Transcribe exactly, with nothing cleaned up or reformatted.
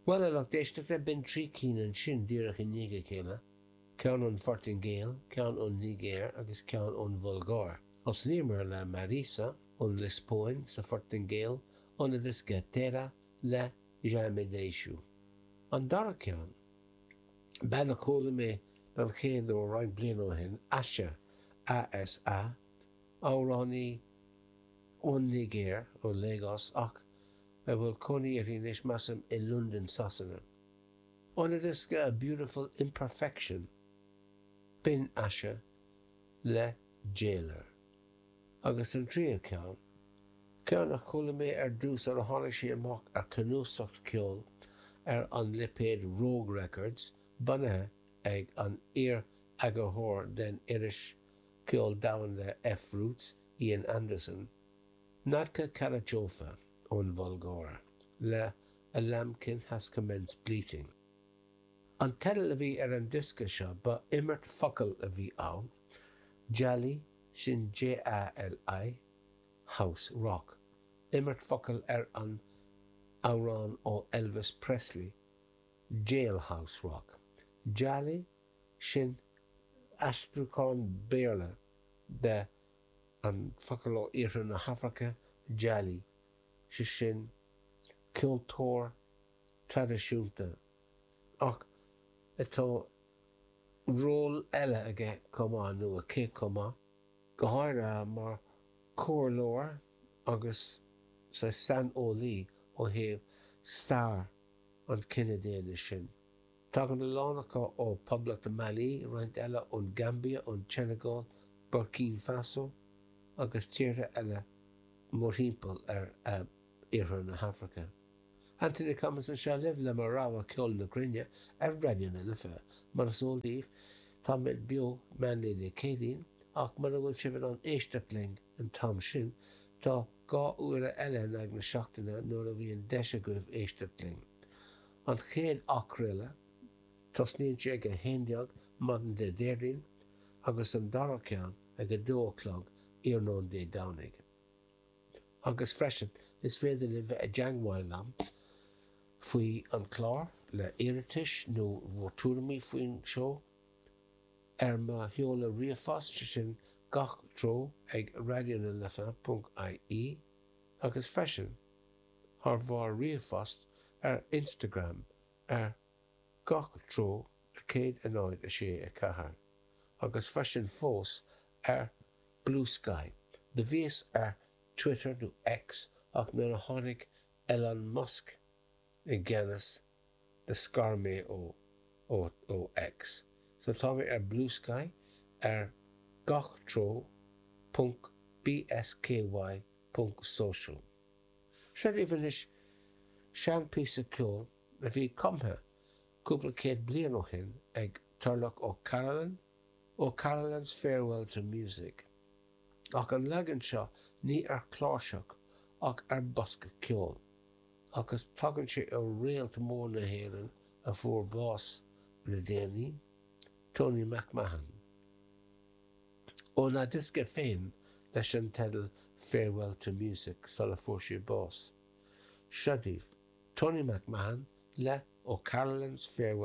Bhuel, a lucht éisteachta, b'in trí cinn ansin díreach i ndiaidh a chéile, ceann ón Phortaingéil, ceann ón Nigéir agus ceann ón Bhulgáir. Thosnaíomar le Mariza ón Liospóin sa Phortaingéil óna diosca Terra le Já Me Deixo. An dara ceann, bean a chuala mé don chéad uair roinnt bliain ó shin, Asa, A S A, amhránaí ón Nigéir, ó Lagos, ach a bhfuil cónaí uirthi anois, measaim, i Londain, Sasana. Óna diosca A Beautiful Imperfection, b'in Asa le Jailer. Agus an tríú ceann, ceann a chuala mé ar dtús ar a tháinig sé amach ar chnuasach ceoil ar an lipéad Rogue Records, bunaithe ag an iar-eagarthóir den iris ceol domhanda F-Roots, Ian Anderson, Nadka Karadzhova ón Bhulgáir le A Lambkin Has Commenced Bleating. An teideal a bhí ar an diosca seo, ba imirt focal a bhí ann, Jali, sin J A L I, House Rock. Imirt focal ar an amhrán ó Elvis Presley, Jailhouse Rock. Jali, sin aistriúchán Béarla de an focal ó iarthar na hAfraice, Jali, sé sin ceoltóir traidisiúnta ach atá ról eile aige chomh maith, nó aici chomh maith, go háirithe mar chomhairleoir agus sa saineolaí ó thaobh stair an chine daonna sin. Tagann a lán acu ó Poblacht Mailí, roinnt eile ón Gaimbia, ón tSeineagáil, Burkina Faso agus tíortha eile mórthimpeall ar iarthar na hAfraice. Anthony Cummins anseo libh le mo rogha ceol na gcruinne ar Raidió na Life. Mar is eol daoibh, táimid beo meánlae Dé Céadaoin, ach mura bhfuil sibh in ann éisteacht linn an t-am sin, tá dhá uair eile in aghaidh na seachtaine nuair a bhíonn deis agaibh éisteacht linn. An chéad athchraoladh, tosnaíonn sé ag a haon déag maidin Dé Déardaoin, agus an dara ceann ag a dó a chlog iarnóin Dé Domhnaigh. Agus freisin is féidir libh bheith i dteagmháil liom faoi an chlár le hiarratais nó bhur dtuairimí faoin seó ar mo sheoladh ríomhphost, sin gach treo ag raidionalife ponc I E, agus freisin thar bharr ríomhphost ar Instagram ar gach treo céad a náid a sé a ceathair agus freisin fós ar Bluesky. Do bhíos ar Twitter nó X, ach nuair a tháinig Elon Musk i gceannas do scar mé ó ó ó X. So tá mé ar Bluesky ar gach treo ponc B S K Y ponc social. Seo daoibh anois seanphíosa ceoil a bhí cumtha cúpla céad bliain ó shin ag Turlough O'Carolan, O'Carolan's Farewell to Music. Ach an leagan seo ní ar chláirseach ach ar bosca ceoil, agus tagann sé ó réalt mór na hÉireann a fuair bás le déanaí, Tony McMahon. Óna diosca féin leis an teideal Farewell to Music sula fuair sé bás. Seo daoibh Tony McMahon le O'Carolan's Farewell.